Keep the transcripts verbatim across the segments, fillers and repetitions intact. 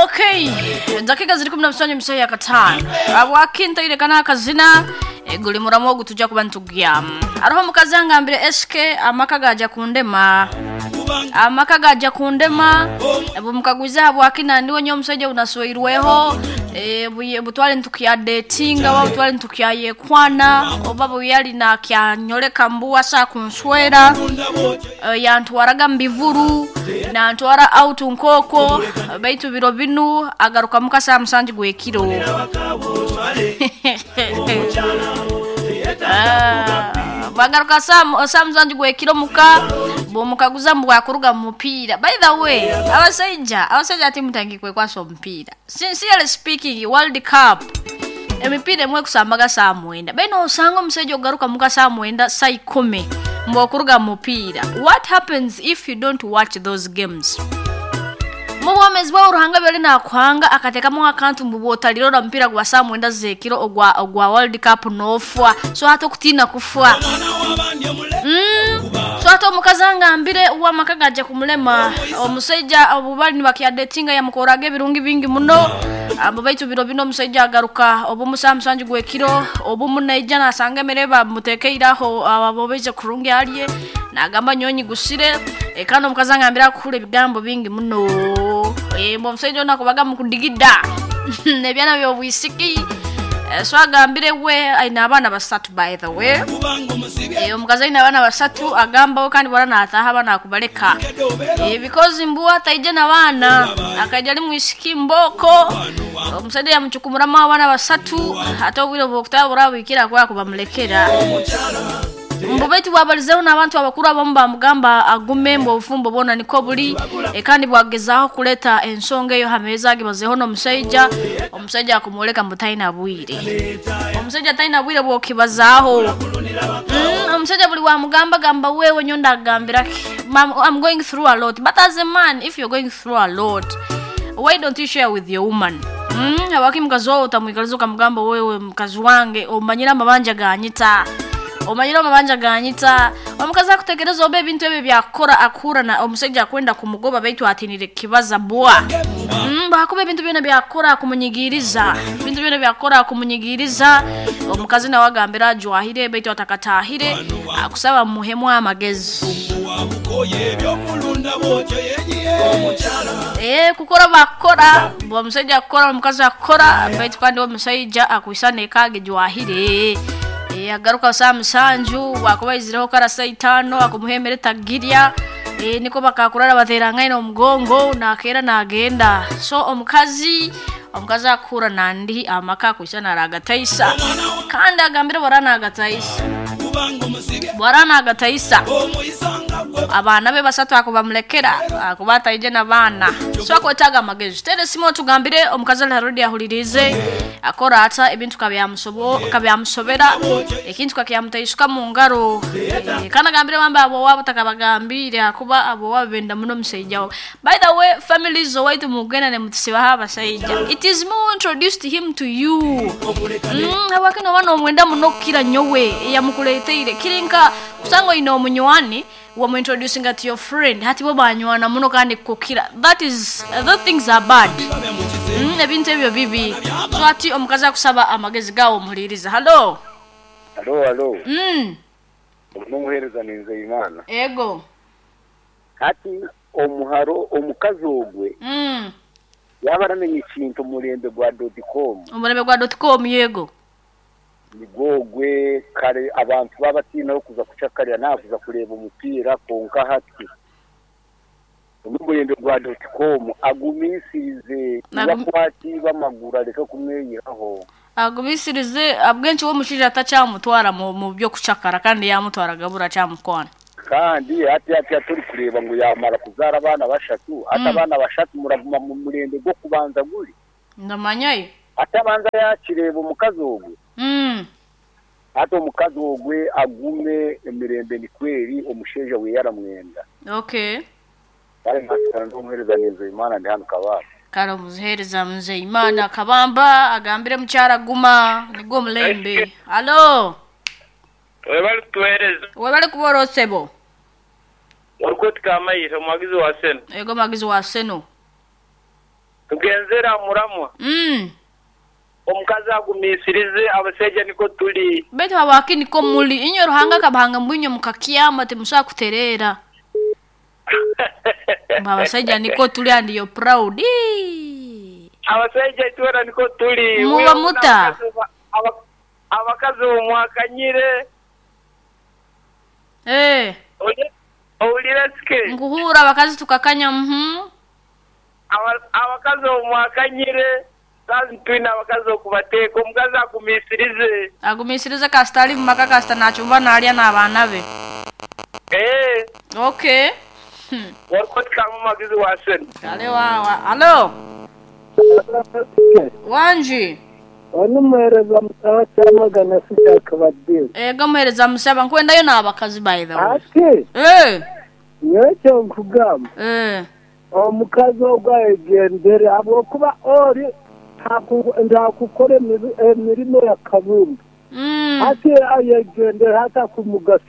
Okay, dakika ziri kumi na musanju emisaaha ya kataano abwakintaire kana akazina guli muramu ogu tujja kuba nitugyamu. Hariho omukazi angambire S K, amaka gaja kundema, amaka gaja kundema. Bumukagwiza habwaki ndiwe nyo omusajja unasweirweho e, butwale ntukyadetinga oba butwale ntukyayekwana oba buyali nakyanyoleka mbu asa kunswera, e, yantwaraga mubivuru, nantwara out nkoko, baitu biro binu agaruka muka saa musanju gwekiro. Ah, bagaruka saa saa musanju gwekiro muka, bwomukaguza mbu bwakuruga mu mupiira. By the way, abasajja abasajja ati mutangi kwekwasa omupiira. Sincerely speaking, World Cup emipiira emwe ekusambaga saa mwenda, baino osanga omusajja ogaruka muka saa mwenda, saa ikumi, mbu okuruga mu mupiira. What happens if you don't watch those games? Mu bwomezi bwawe, Ruhanga byoli nakuhanga akateekamu akantu mbu bwotalirora omupiira gwa saa mwenda zekiro ogwa, ogwa World Cup nofwa. So hati okutiina kufwa mm. So hati omukazi angambire uwamaka gajja kumulema. Omusajja obu bali nibakyadetinga yamukoraga ebirungi bingi muno abo, baitu biro bino omusajja agaruka obumu saa musanju gwekiro, obumu naija nasanga emere bamutekeiraho abobeize kurungi alye, nagamba nyonyi gusire. E, kandi omukazi angambire akuhura ebigambo bingi muno. e, omusajja ono akubaga mukudigida ebyana byobwisiki. e, so agambire we aine abaana basatu. By the way, e, omukazi aine abaana basatu, agambaho kandi bora nataha abaana akubaleka, e, because mbu ataije n'abaana akaija ali mwisiki mboko. Omusajja yamucukumuramu abaana basatu, ate obwire bwokutaba burabwikira kuba kubamulekera. Mbu baitu bwabalizeho n'abantu abakuru abamu bamugamba agume, mbu obufumbo bwona niko buli. e, kandi bwagezaho kuleta ensonga eyo hameeza agibazeho n'omusajja, omusajja akumwoleka mbu talina bwire. Omusajja talina bwire bwokibazaaho. mm, omusajja buli wamugamba gamba wewe nyo ndagambiraki, I'm going through a lot. But as a man, if you're going through a lot, why don't you share with your woman? mm, abaki mukazi wawe utamwikaliza ukamugamba, wewe mukazi wange, omanyire amabanja ganyita, omanyire amabanja ganyita. Omukazi akutegereza oba ebintu ebyo byakukora akuhura na omusajja akwenda kumugoba, baitu atinire kibaza bwa mm, bakuba ebintu byona byakukora akumunyigiriza, ebintu byona byakukora akumunyigiriza. Omukazi nawe agambira ajwahire baitu atakatahire, akusaba muhemu amagezi. Eh, kukora bakukora, omusajja akukora, omukazi akukora, baitu kandi omusajja akwisana ekage jwahire. e, agaruka saa musanju, wakuba izireho kara saa itaano akumuhemere tagirya. e, niko bakakurara baterangaine omugongo nakera nagenda. So omukazi omukazi akura nandi amaka akwisana aragataisa, kandi agambire bora nagataisa, bora nagataisa abaana be basatu akubamulekera akuba ataije n'abaana. So akwetaaga amagezi. Tere simu tugambire omukazi ali harudi ahulirize akora ata ebintu kabyamusobera, ekintu kakyamutaisuka mu ngaro. e, kandi agambire bamba abo wabo takabagambire akuba abo wabo benda muno omusajja wawe. By the way, families owaitu mugenda ne mutusibaho abasajja. It is more introduced him to you. mm, habwaki noba nomwenda muno kukira nyowe eyamukuleteire? Kirinka kusanga oine omunywani wamuintroducing to your friend, hati bo banywana muno kandi kukira. That is uh, those things are bad. mm, ebintu ebyo bibi. So ati omukazi akusaba amagezi gawo, omuhuliriza. Hallo? Halo, halo. mm. Omuhereza ni Nzeyimana. Ego. Hati omuharo omukazi ogwe mm. yaba aramenya ikintu omulembe gwa dot com. Omulembe gwa dot com, yego. Nigwogwe kare abantu babatiinaho kuza kucakarira nakuza kureba omupiira, konka hati omulembe gwa dot com agumisirize yakwati bamaguru areke kumweyiraho. Agumisirize abwenshi w'omushaija atakyamutwara mu, mu byokucakara kandi yamutwaraga bura kyamukwana. Kandi hati hati turi kureba ngu yamara kuzara abaana bashatu, hati Mm. abaana bashatu muraguma mu murembe gwo kubanza guri Ndamanyayo. Atabanza yakireba omukazi ogwe. mm. Hati omukazi ogwe agume emirembe ni kweri omushaija we yaramwenda. Okay. Kale nasigara ndi Nzeyimana, ndi hano Kabamba. Kale omuzihereza Nzeyimana Kabamba agambire mukyara guma nigwo omulembe. Halo? Webali kutuweereza. Webali kubora osebo. Orikoti Kamayire, omuwagizi wa Seno. Ego, muwagizi wa Seno. Ngenzera muramwa. Mm. Omukazi agumisirize abasajja niko tuli. Betu habaki niko muli. Inyo Ruhanga kabahanga mbwinyo mukakyama temusa kuterera. Abasajja niko tuli and you're proud. Abasajja twera niko tuli. Muba muta. Abakazi omwakanyire. Eh. Owulira sike. Nkuhura abakazi tukakanya mhm. Abakazi omwakanyire. Kazi twina abakazi okubateeka omukazi agumisirize. Agumisirize kasita ali mu maka kasita nachumba nalya n'abaana be. Eh. Okay. Hmm. Warikotika mu magizi wa seni. Kale wawa. Alo. Wanji. Ono muhereza musaba kyamagana sikyakabadde. Ego muhereza musaba nkwendayo n'abakazi by the way. Ate. Eh. Nyekyo nkugamba. Eh. Omukazi ogwayegendere habwokuba ori ndakukora emirimo ya kabumba. Mm. Ate ayegendere hata kumugasa.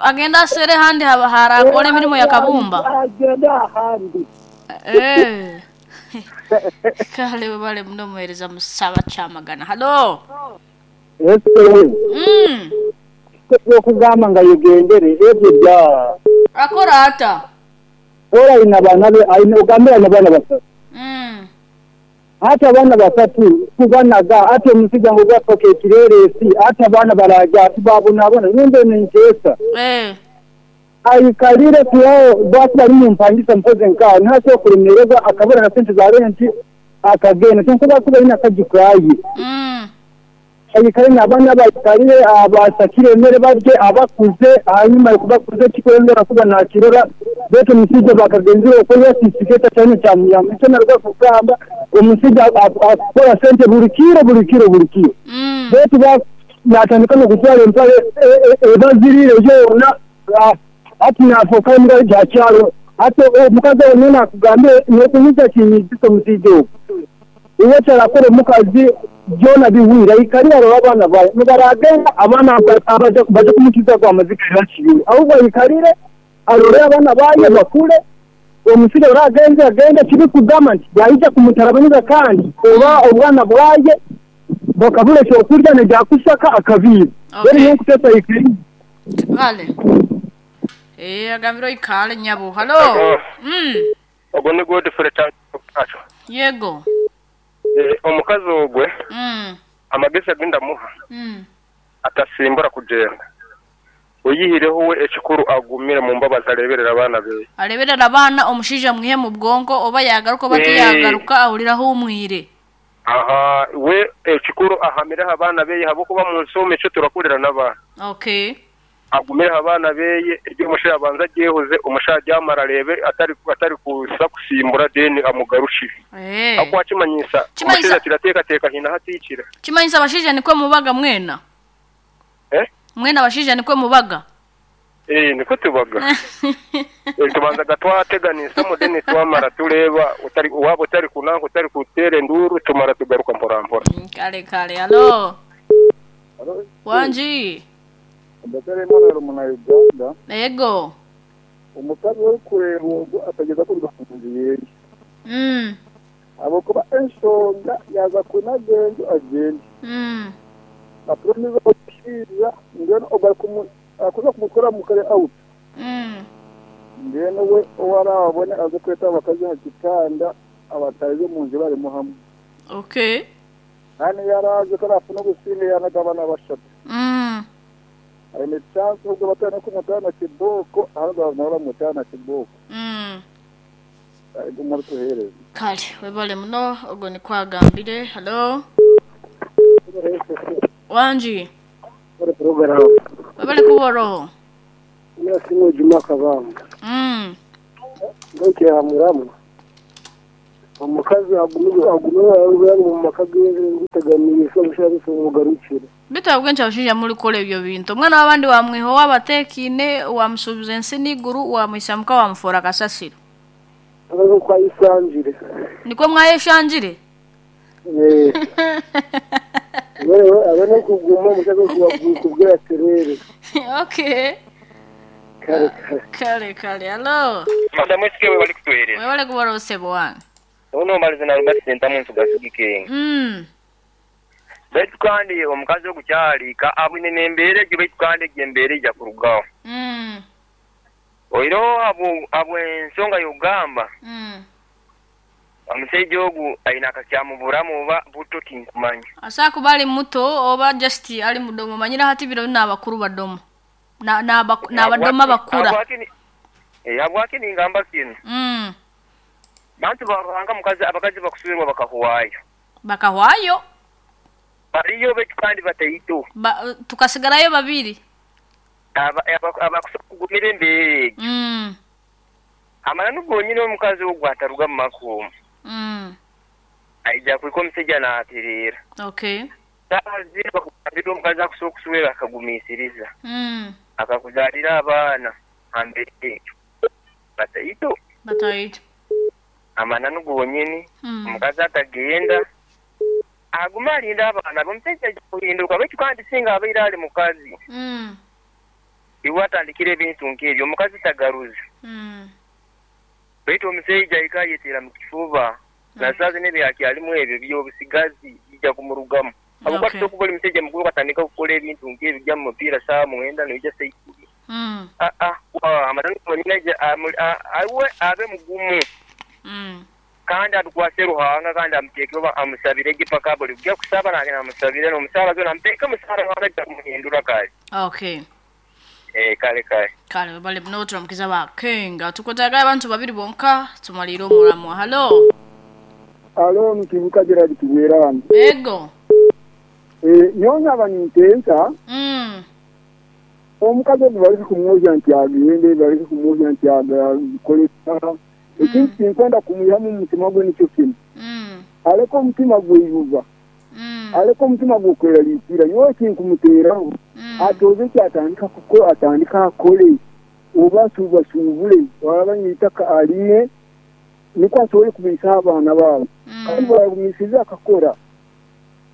Agenda asere handi haba harakora emirimo ya kabumba. Agenda ahandi. Eh. Kale bale muno muhereza musaba kyamagana. Hello. Yes. Mm. Okugamba nga yegendere ebyo bya. Akora ata. Ora ina bana be aina ogambira na bana basatu. Mm. Hata abana basatu kubanaga ate omusijja ngo gwafoka ekireresi ate abaana baraja tubabonabona nimbe ninkesa. Eh. Ayikalire kuyawo bwati bali mu mpangisa mpoze nka ntaso kulemererwa akabura na sente za renti akagenda nkuba kuba ina kagikwaye. Mm. Ayikalire n'abaana bayikalire abasakire emere barye abakuze hanyuma kubakuze kikwendera kuba nakirora betu omusijja bakagenzire okoya sisiketa cyane cyamuyamba icyo narwa kugamba omusijja akora sente buli kiro buli kiro buli kiro. Mm. Betu ba natandika no kutwala empale ebazirire yona ati nafoka mbwa ja kyalo ate omukazi onena akugambe nokunyuza kinyigiso omusijja ogwo iwe kyarakora omukazi byona biwira ikarira abaana bawe nibaragenda abaana baje kumukiza kwa amazika yakiriwe ahubwo ayikarire arore abaana baye bakure omusijja oragenze agende kiri kugamba nti yayija kumutarabaniza kandi oba obwana bwaye bakabura ekyokurya nejakusaka akabiira. Okay. Rero nkutesa ikarire. Kale. Eh agambiro ikale nyabo. Hello. Mm. Ogwo ni Godfrey Tacho. Yego. Eh omukazi ogwe. Mm. Amagezi agenda muha. Mm. Atasimbura kugenda. Oyihireho we ekikuru agumire mu mbabazi areberera abaana be. Areberera abaana omushija mwihe mu bwonko oba yagaruka oba tiyagaruka ahuriraho umwire. Aha we ekikuru ahamireho abaana be habokuba mu nsome cyo turakurira n'abaana. Okay. Agumire abaana beye ibyo umusha abanza agiyehoze umusha ajyamara arebe atari atari kusa kusimbura deni amugarushire. Eh. Akwa kimanyisa umusha kirateka teka hina hatikira. Kimanyisa abashija nikwe mubaga mwena. Eh? Mwena abashija nikwe mubaga. Eh niko tubaga. Eh tubanza gatwateganisa mu deni twamara tureba utari wabo utari kunango utari kutere nduru tumara tugaruka mpora mpora. Kale kale alo. Wanji. Ndakare mwana muna Uganda. Yego. Omukazi ori kureba ogwo atageza kuruga ku nzu yeye. Mm. Abokuba enshonga yaza kunagenda agende. Mm. Apromiza okushiija mbwenu ogwo akuza kumukora mukare out. Mm. Mbwenu we owarabone aze kweta abakazi ha kitanda abatarize mu nzu barimo hamwe. Okay. Hano yaraje ko arafuna gusinga yanagabana bashatu. Mm. Aine chance ubwo batana kumutana kiboko ahubwo nabara mutana kiboko. Mm. Ariko muri tuhereze. Kale webale muno ogwo ni kwagambire. Hello. Wanji. Ore program. Webale kuboroho. Nasimu Juma Kabanga. Mm. Ndoke hamuramu. Omukazi agumiwe agumiwe mu maka guteganiriza omushabiso mugarukire. Bitabwe ncha muri kole ebyo bintu. Omwana w'abandi wamwiho wabatekine wamusubiza ensi n'iguru wamwisamuka wamufora kasasiro. Abazo kwayisanjire. Niko mwayeshanjire? Eh. Wewe abone kuguma mushaka kubwira terere. Okay. Kare kare. Kare kare. Hello. Madam Esike we bali kutuhereza. We bali kubara osebo wange. Ono malize na Robert Sentamu nsugasugike. Mm. Baitu kandi omukazi ogukyali ka abwine n'embeera egyo baitu kandi egyo embeera ejja kurugaho. Mm. Oiro abo abo ensonga y'ogamba. Mm. Omusajja ogu ayina akakyamuburamu oba buto tinkumanya. Asa kuba ali muto oba just ali mudomo manyira hati biro n'abakuru badomo. Na n'abadoma bakura. Eh abwaki ningamba kino. Mm. Bantu baranga mukazi abakazi bakusubirwa bakahuwayo. Bakahwayo. Bariyo betu kandi batayito. Ba, tukasigarayo babiri. Aba abakusugumira embere. Mm. Amana nubwo nyine omukazi ogwo ataruga mu makumu. Mm. Aija kuliko omusajja n'aterera. Okay. Tazi bakugambira omukazi akusobola akagumiisiriza. Mm. Akakuzaalira abaana ambere ekyo. Batayito. Batayito. Amana nubwo nyine Mm. omukazi atagenda aguma alinda abaana omusajja ajja kuhinduka baitu kandi singa abeire ali mukazi. Mm. Iwe atandikira ebintu nk'ebyo omukazi tagaruza. Mm. Baitu omusajja ayika yeteera mu kifuba nasaazi n'ebyakyalimu ebyo by'obusigazi bijja kumurugamu. Habwokuba Okay. tusobola kuba oli musajja mukulu katandika kukola ebintu nk'ebyo bijja mu mupiira saawa mwenda noija saikumi. Mm. Ah ah amana nubwo nyine awe abe mugumu. Mm. Kandi abikwase Ruhanga kandi amuteeke oba amusabire gipaka buli kujja kusaba nange namusabire n'omusaala zo namuteeke omusaala Ruhanga ajja kumuhindura kale. Okay. Eh kale kale. Kale bale muno turamukiza ba Kenga tukotaga abantu babiri bonka tumalire omulamu. Hello. Alo mkivuka Gerard Kiwerani. Ego. Eh nyonya abanintensa. Mm. Omukazi bali kumwoja nti agende bali kumwoja nti akolesa. Ekintu kinkwenda kumuyamu omutima gwe nikyo kino. Mm. Aleko omutima gweyuba. Mm. Aleko omutima gwokweraliikira nyowe kinkumuteeraho. Mm. Atoze kyatandika kuko atandika akole oba asuubasuubule walaba nyitaka aline niko asobole kubiisa abaana baabo. Mm. Kandi bwagumisiza akakora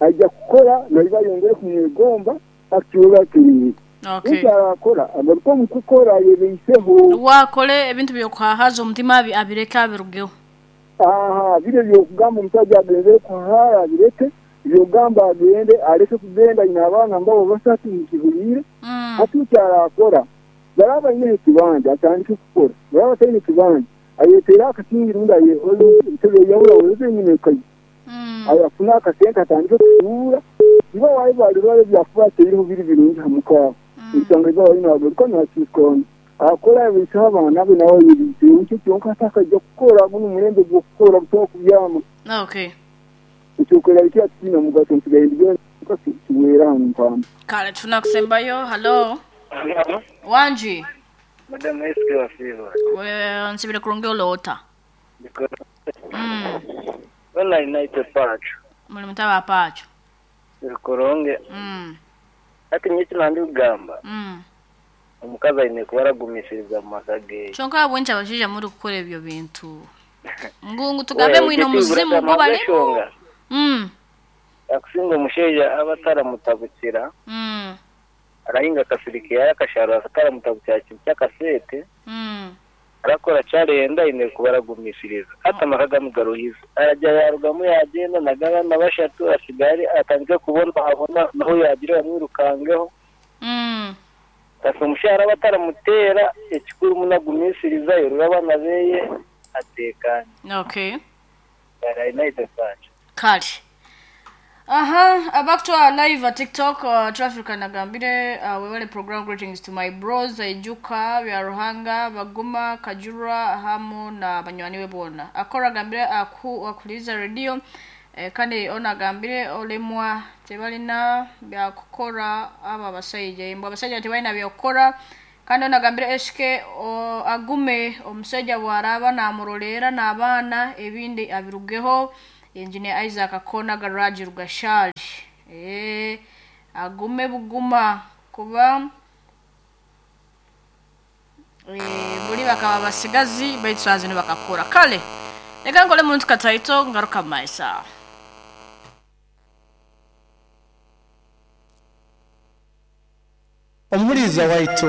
ajja kukola nali bayongere kumwegomba akiwola aterere. Okay. Ekyo agaruka omu kukora yebeiseho. Wakole ebintu by'okuhahaza omutima abireke abirugeho. Aha bire by'okugamba omusajja agenzere kuhaara abireke by'ogamba agende aleke kugenda ayina abaana mbabo basatu mukibuliire. Mm. Hati ekyarakora baraba ayine ekibanja atandike kukora baraba ataine ekibanja ayeteere akakingi rundi ayehole entebe yahura weze nyine ekayi. Mm. Ayafuna akasente atandike kusuura iba wayi balirwale byakuba ateiriho biri birungi hamukaaho. Ensonga iba wayi nagaruka nakiikona akora abiiseho abaana be nawe yebiiseho nikyo kyonka atakajja kukora guno omulembe gw'okukora butoba kubyama. Okay. Ekyokwera kiine omugaso nsigaye ndigenda kiweera hano mpamba. Kale tunakusembayo. Hello. Hello. Wanji. Madam S K Wasiva. We nsibire kurungi olota. Mm. Wala inaitwa Pacho. Muli mutaba Pacho. Kuronge. Mm. Ati nyiki nandi kugamba. Mm. Omukazi ayine kuba aragumisiriza mu maka ge. Kyonka bwencha abashaija muri kukora ebyo bintu. Ngungu tugambe mwine omuzimu gwo balimu. Mm. Akusinga omushaija aba ataramutabukira. Mm. Arahinga akasirikira akasharo ataramutabukira kintu ky'akasente. Mm. Arakora kyarenda ayine kuba aragumisiriza. Ati amaka gamugaruhiza. Arajya yarugamu yagenda nagabana bashatu asigare atandike kubona abona naho yagira bamwirukangeho. Mm. Kasi omushara aba ataramutera ekikuru munagumisiriza yorora abaana beye atekanye. Okay. Kale. Kale. Aha, back to our live at TikTok, uh, Traffic nagambire, uh, we wale program greetings to my bros, Ijuka, bya Ruhanga, Baguma, Kajura, hamu na banywani we bona. Akora gambire aku akuliza radio, eh, kandi ona gambire olemwa tebalina bya kukora aba basajja, imbwa abasajja tebalina bya kukora. Kandi ona gambire S K o, agume omusajja bwaraba namurolera n'abaana ebindi abirugeho. Engineer Isaac Akona garage Rugashali. Eh agume buguma kuba eh buli bakaba basigazi baitsazi ne bakakora. Kale reka nkole muntu kataito ngaruka maisa. Omuliza waito.